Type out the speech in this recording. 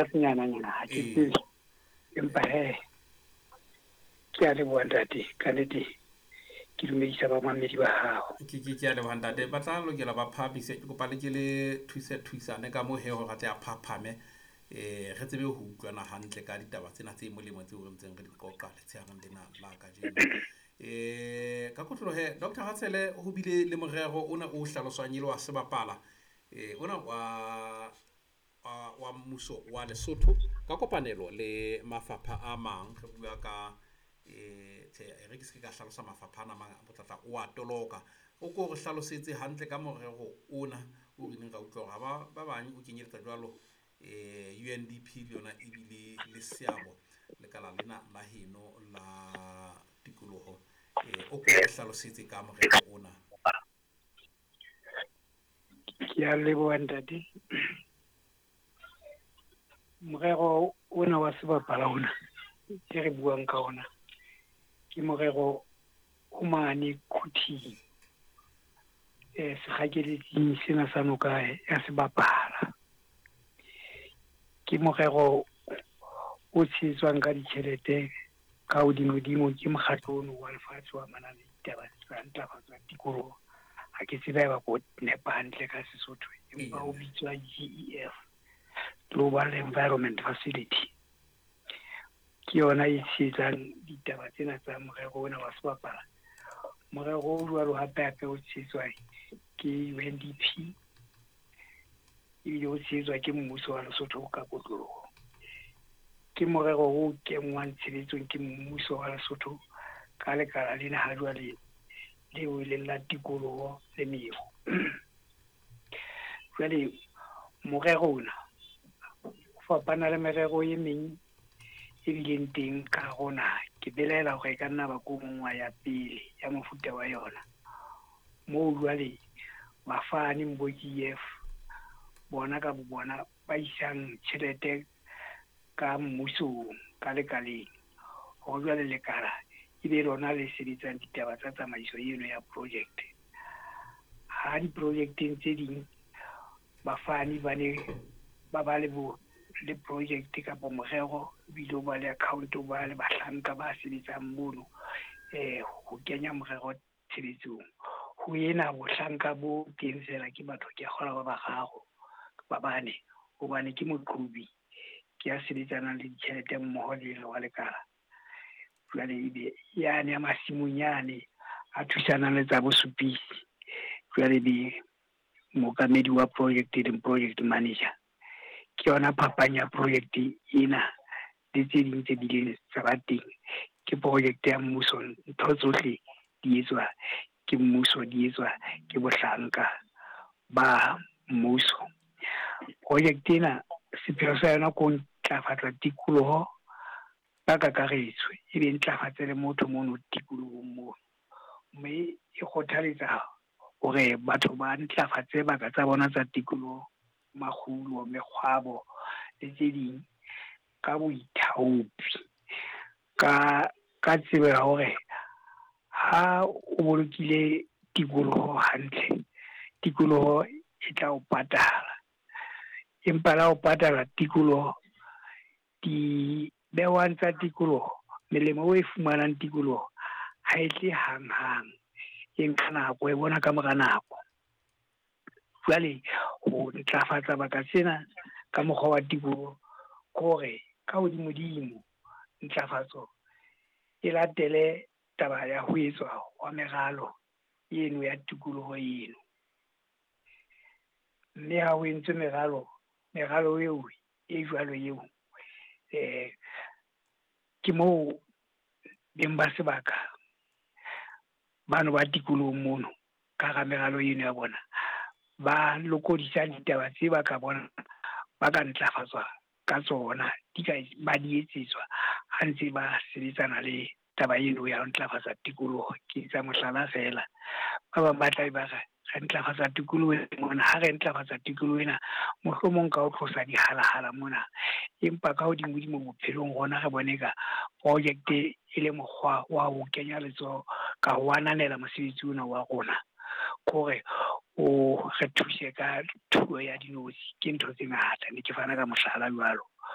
Senyananyana ha ke tsebe, empa he ke a leboha ntate, ka nnete ke dumedisa bamamedi ba hao. Ke a leboha ntate. Ba tla lokela ba phahamise, ke kopa le ke le thuse thusane ka moo he hore a tle a phaphame, re tsebe ho utlwana hantle ka ditaba tsena tse molemo tseo re ntseng re di qoqa letshehareng lena la kajeno. Ka kotloloho he Dr. Ratshele, ho bile le morero ona o hlaloswang e le wa sebapala, ona wa mmuso wa Lesotho ka kopanelo le mafapha a mang. Re bua ka tjhe, re ke se ka hlalosa mafapha ana a mang, botlatla o a toloka. O ko re hlalosetse hantle ka morero ona o re neng ra utlwa hore ba bang o kenyeletsa jwalo UNDP le yona ebile le seabo lekala lena la heno la tikoloho. O ko re hlalosetse ka morero ona. Ke a leboha ntate. Morero ona wa sebapala ona e re buang ka ona ke morero o mane Quthing, sekgakeletsing sena sa noka ya sebapala. Ke morero o tshehetswang ka ditjhelete ka hodimodimo ke mokgatlo ono wa lefatshe wa manang le ditaba tsa ntlafatso ya tikoloho. Ha ke tsebe haeba ko nepa hantle ka Sesotho, empa o bitswa GEF, Global Environment Facility. Ke yona e tshehetsang ditaba tsena tsa morero ona wa sebapala. Morero o jwalo hape hape o tshehetswa ke UNDP, ebile o tshehetswa ke mmuso wa Lesotho ka kotloloho. Ke morero o kenngwang tshebetsong ke mmuso wa Lesotho ka lekala lena ha jwale leo e leng la tikoloho le meru. Jwale morero ona o fapana le merero e meng e bileng teng ka hare ho naha. Ke belaela hore e ka nna ba ko mong wa ya pele ya mofuta wa yona. Moo jwale bafani bo GEF bona ka bo bona ba isang tjhelete ka mmusong ka lekaleng, hore jwale lekala e be lona le sebetsang ditaba tsa tsamaiso eno ya project. Ha di-projecteng tse ding bafani ba ne ba ba le bo le project kapa morero, ebile o ba le account, o ba le bahlanka ba sebetsang mono, ho kenya morero tshebetsong. Ho ena bohlanka bo teng fela ke batho ke a kgolwa ba bararo ba bane, hobane ke moqhobi ke ya sebetsanang le ditjhelete mmoho le ena wa lekala. Jwale ebe yane ya masimong yane a thusanang le tsa bosupisi, jwale be mookamedi wa project e leng project manager. Ke yona phapang ya project ena le tse ding tse bileng tsa ba teng. Ke project ya mmuso, ntho tsohle di etswa ke mmuso, di etswa ke bohlanka ba mmuso. Project ena sepheo sa yona ke ho ntlafatsa tikoloho ka kakaretso, e be ntlafatse le motho mono tikolohong mono, mme e kgothaletsa hore batho ba ntlafatse baka tsa bona tsa tikoloho, makgulo, mekgwabo le tse ding ka boithaopi, ka tsebo ya hore ha o bolokile tikoloho hantle, tikoloho e tla o patala. Empa la o patala tikoloho, di behwang tsa tikoloho, melemo o e fumanang tikoloho ha e tle hang-hang, e nka nako, e bona ka mora nako. Jwale ho ntlafatsa baka tsena ka mokgwa wa tikoloho ke hore ka hodimodimo ntlafatso e latele taba ya ho etswa wa meralo eno ya tikoloho eno. Mme ha ho entswe meralo, meralo eo e jwalo eo, ke moo beng ba sebaka bano ba tikolohong mono ka hara meralo eno ya bona ba lokodisang ditaba tse ba ka bona ba ka ntlafatswa ka tsona, di ka ba di etsetswa ha ntse ba sebetsana le taba eno ya ho ntlafatsa tikoloho. Ke etsa mohlala fela, ba bang ba tla be ba re re ntlafatsa tikoloho mona, ha re ntlafatsa tikoloho ena mohlomong ka ho tlosa dihalahala mona, empa ka hodimodimo bophelong rona re bone ka project e le mokgwa wa ho kenya letsoho ka ho ananela mosebetsi ona wa rona, kore o re thuse ka thuo ya dinotshi. Ke ntho tse ngata, ne ke fana ka mohlala jwalo.